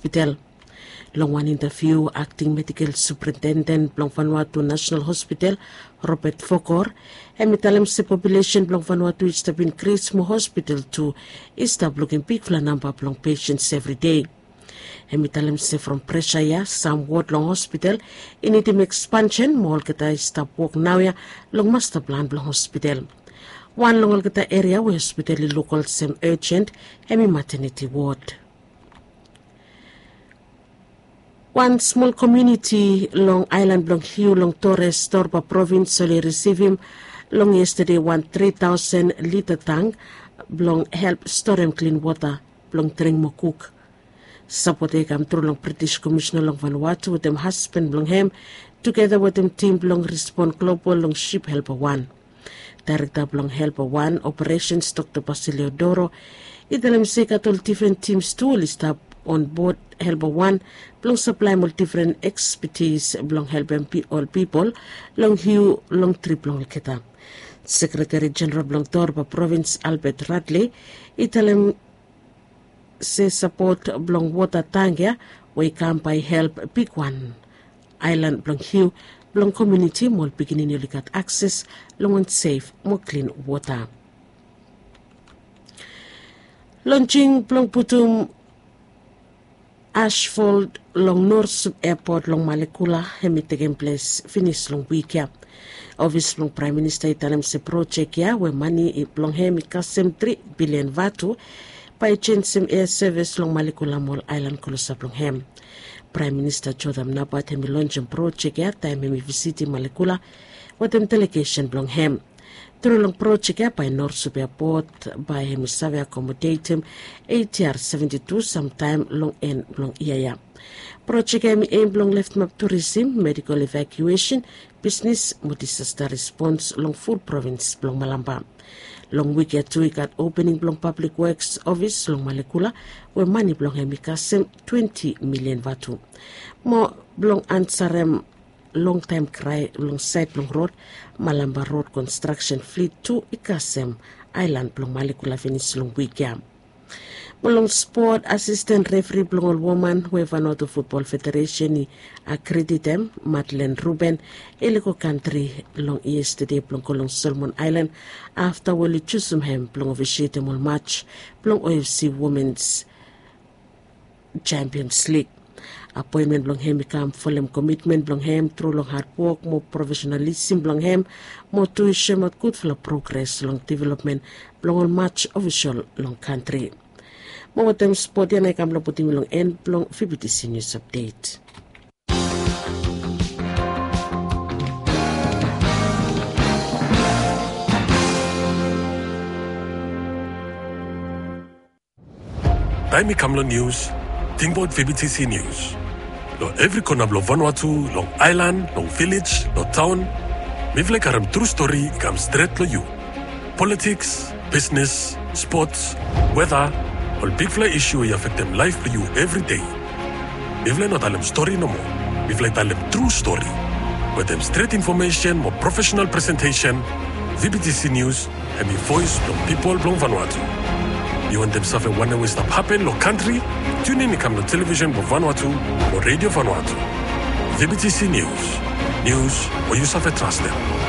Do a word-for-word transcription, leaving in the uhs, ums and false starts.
Hospital. Long wan intaviu, akting medikel suprintenden blong Vanuatu National Hospital, Robert Fokor, hem i talem se populesen blong Vanuatu i stap inkris, mo hospital tu i stap lukim bigfala namba blong pesens evri dei. Hem i talem se from presa ya, sam wod long hospital i nidim ekspansen, mo olgeta i stap wok naoia long masta plan blong hospital. Wan long olgeta eria we hospital i luk olsem urgent, hem i maternity wod. Wan smol komuniti long aelan blong Hiu long Torres, Torba provins, oli risivim long yestade wan tri taosen lita tang blong help storem klin wota blong dring mo kuk. Sapot ya i kamtru long British Komisina long Vanuatu wetem hasban blong hem, tugeta wetem tim blong Respond Global long sip Helper wan. Daerekta blong Helper wan Operesens, Dokta Basilio Doro, i talem se i gat ol difren tims tu oli stap onbod Helper wan blong saplaem ol difren ekspetis blong helpem pi-, ol pipol long Hiu long trip blong olgeta. Sekreteri Jeneral blong Torba provins, Albert Radley, i talem se sapot blong wota tang ya we i kam bae i help bigwan aelan blong Hiu blong komuniti mo ol pikinini oli gat akses long wan sef mo klin wota. Lonsing blong putum asfalt long Norsup Airport long Malekula hem i tekem ples finis long wik ya. Ofis blong Praem Minista i talem se projek ya we mane i blong hem i kasem tri bilian vatu bae i jenisim air sevis long Malekula mo ol aelan klosap long hem. Praem Minista Jotham Napat hem i lonsem projek ya taem hem i visitim Malekula wetem delegesen blong hem. Tru long projek ya bae Norsup Airport bae hem i save akomodetem ATR seventi tu samtaem long en blong yia ya. Projek ya hem i em blong leftemap turisim, medikol evakuesen, bisnes mo disasta respons long ful provins blong Malampa. Long wik ya tu i gat opening blong Pablik Woks ofis long Malekula we mane blong hem i kasem twenti milian vatu. Mo blong ansarem longtaem krae long saed blong rod, Malampa Rod Konstraksen Flit tu i kasem aelan blong Malekula finis long wik ya. Mo long spot, asisten refri blong ol woman we Vanuatu Futbol Federesen i akredit hem, Madeleine Ruben, i lego kantri long yestade blong go long Solomon Aelan afta we oli jusum hem blong ofisietem ol maj blong OFC Womens Champions League. Apoenmen blong hem i kam folem komitmen blong hem tru long hadwok mo profesenalisem blong hem, mo tu i soemaot gudfala progres long developmen blong ol maj ofisol long kantri. Mo wetem spot ya nao i kam blong putum yu long en blong VBTC News Update. Taem i kam long nius, tingbaot VBTC Nius. Long evri kona blong Vanuatu, long aelan, long vilej, long taon, mifala i karem tru stori i kam stret long yu. Politiks, bisnes, spots, weta, ol bigfala isu we i afektem laef blong yu evridei. Mifala i no talem stori nomo. Mifala i talem tru stori. Wetem stret infomesen mo profesenal presentesen, VBTC Nius hem i voes blong pipol blong Vanuatu. Yu wantem save wanem we i stap hapen long kantri? Tiunin i kam long televisen blong Vanuatu o Redio Vanuatu. VBTC Nius. Nius we yu save trastem.